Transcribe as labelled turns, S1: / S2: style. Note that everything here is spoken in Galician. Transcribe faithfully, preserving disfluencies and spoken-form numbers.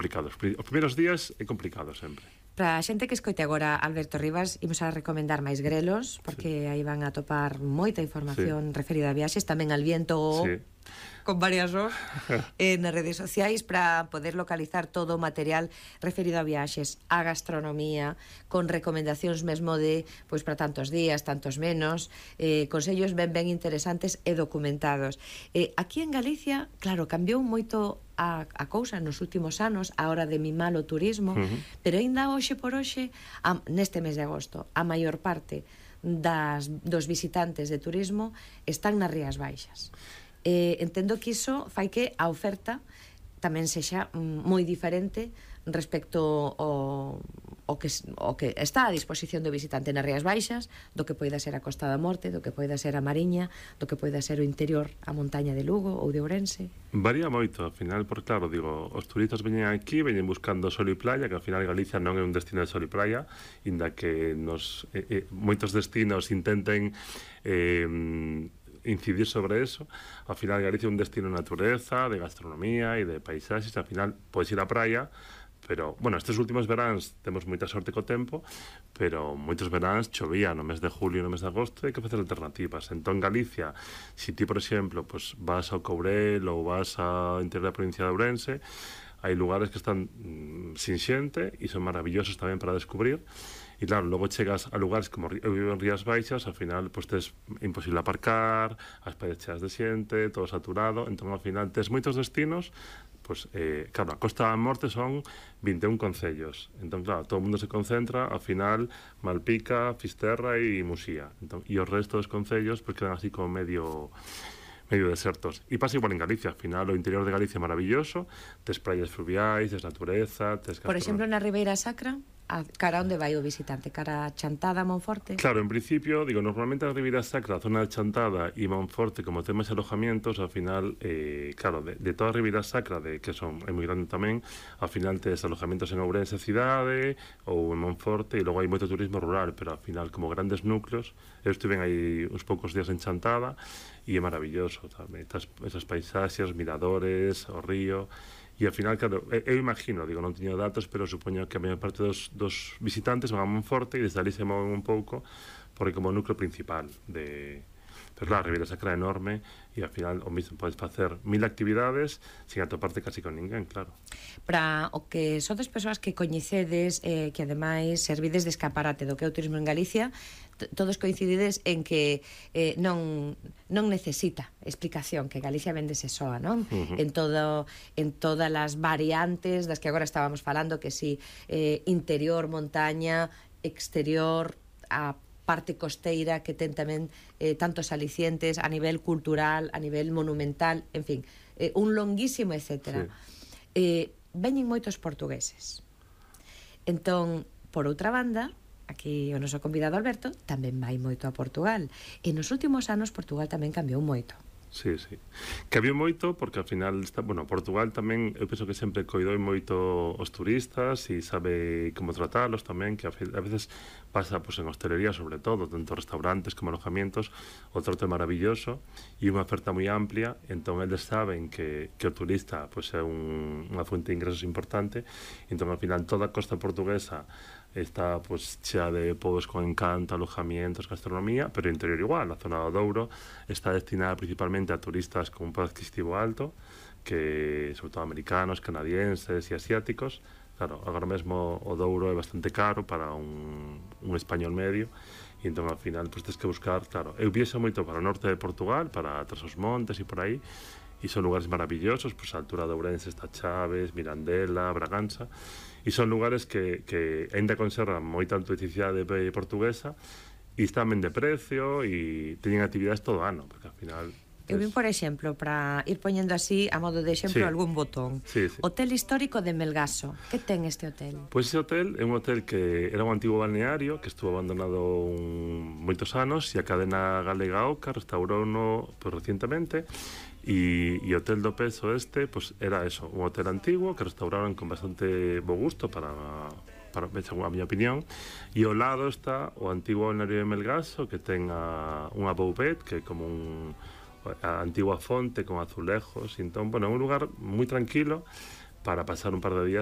S1: complicado. Os primeiros días é complicado sempre.
S2: Para a xente que escoite agora Alberto Rivas, imos a recomendar máis grelos, porque sí. aí van a topar moita información sí. referida a viaxes, tamén al viento sí. con varias os eh, nas redes sociais, para poder localizar todo o material referido a viaxes, a gastronomía, con recomendacións mesmo de, pois para tantos días, tantos menos, eh, consellos ben ben interesantes e documentados. Eh, aquí en Galicia, claro, cambiou moito a, a cousa nos últimos anos a hora de mimar o turismo, uh-huh. pero aínda hoxe por hoxe, a, neste mes de agosto, a maior parte das, dos visitantes de turismo están nas Rías Baixas. Eh, entendo que iso fai que a oferta tamén sexa mm, moi diferente respecto ao, ao, que, ao que está a disposición do visitante nas Rías Baixas, do que poida ser a Costa da Morte, do que poida ser a Mariña, do que poida ser o interior, a montaña de Lugo ou de Ourense.
S1: Varía moito, ao final, porque claro, digo, os turistas veñen aquí, veñen buscando sol e playa, que ao final Galicia non é un destino de sol e playa, inda que nos eh, eh, moitos destinos intenten eh, incidir sobre eso. Ao final Galicia é un destino de natureza, de gastronomía e de paisaxes, ao final podes ir á praia, pero, bueno, estes últimos veráns temos moita sorte co tempo, pero moitos veráns chovía no mes de julio e no mes de agosto, e hai que facer alternativas. Entón, Galicia, se ti, por exemplo, pues, vas ao Courel ou vas ao interior da provincia de Ourense, hai lugares que están mm, sin xente e son maravillosos tamén para descubrir. E claro, logo chegas a lugares como eu vivo en Rías Baixas, ao final, pois tes imposible aparcar, as calles cheas de xente, todo saturado, entón ao final tes moitos destinos. Pois, eh, claro, a Costa da Morte son vinte e un concellos. Entón, claro, todo o mundo se concentra, ao final, Malpica, Fisterra e Musía. Entón, e o resto dos concellos, pois, quedan así como medio medio desertos. E pasa igual en Galicia, ao final, o interior de Galicia é maravilloso, tes praias fluviais, tes natureza, tes...
S2: Por exemplo, na Ribeira Sacra, a cara onde vai o visitante? Cara a Chantada, Monforte?
S1: Claro, en principio, digo, normalmente a Ribeira Sacra, a zona de Chantada e Monforte, como temas alojamientos, ao final, eh, claro, de, de toda a Ribeira Sacra, de, que son, é moi grande tamén, ao final tes alojamientos en Ourense cidade ou en Monforte, e logo hai moito turismo rural, pero ao final, como grandes núcleos, eu estive aí uns poucos días en Chantada, e é maravilloso tamén, estas, esas paisaxes, miradores, o río. E ao final, claro, eu imagino, digo, non teño datos, pero supoño que a maior parte dos, dos visitantes van a Monforte e desde ali se moven un pouco, porque como núcleo principal de... Pero claro, a Ribeira Sacra é enorme e ao final o mismo podes facer mil actividades sin atoparte casi con ninguén, claro.
S2: Para o que sodes persoas que coñecedes, eh, que ademais servides de escaparate do que é o turismo en Galicia, todos coincidides en que eh, non non necesita explicación, que Galicia vendese soa, non? Uh-huh. En todo en todas as variantes das que agora estábamos falando, que si eh, interior, montaña, exterior, a parte costeira, que ten tamén eh, tantos alicientes a nivel cultural, a nivel monumental, en fin, eh, un longuísimo etcétera. Sí. Eh, veñen moitos portugueses. Entón, por outra banda, aquí o noso convidado Alberto tamén vai moito a Portugal. E nos últimos anos Portugal tamén cambiou moito.
S1: Sí, sí. Cambiou moito porque ao final está, bueno, Portugal tamén, eu penso que sempre coidou moito os turistas e sabe como tratalos tamén, que a veces pasa pues, en hostelería sobre todo, tanto restaurantes como alojamientos, o trato é maravilloso e unha oferta moi amplia, entón eles saben que, que o turista pues, é un, unha fuente de ingresos importante, entón ao final toda a costa portuguesa está pues, chea de pobos con encanto, alojamientos, gastronomía, pero o interior igual, a zona do Douro está destinada principalmente a turistas con un poder adquisitivo alto, que sobre todo americanos, canadienses e asiáticos. Claro, agora mesmo o Douro é bastante caro para un, un español medio, e entón ao final pues, tens que buscar, claro, eu viexo moito para o norte de Portugal, para Trás-os-Montes e por aí, e son lugares maravillosos, pues a altura de Ourense está Chaves, Mirandela, Bragança, e son lugares que, que ainda conservan moita autenticidade portuguesa e están ben de precio e teñen actividades todo o ano, porque ao final...
S2: Eu vim, por exemplo, para ir poñendo así, a modo de exemplo, sí. algún botón.
S1: Sí, sí.
S2: Hotel histórico de Melgaso. Que ten este hotel?
S1: Pois ese hotel é un hotel que era un antigo balneario que estuvo abandonado un, moitos anos e a cadena galega Oca restaurouno pues, recientemente. E o Hotel do Peso este, pues era eso, un hotel antigo que restauraron con bastante bo gusto para, para a miña opinión, e ao lado está o antigo balneario de Melgaso, que ten a, unha boubet, que é como un, a antigua fonte con azulejos, e entón, bueno, é un lugar moi tranquilo para pasar un par de días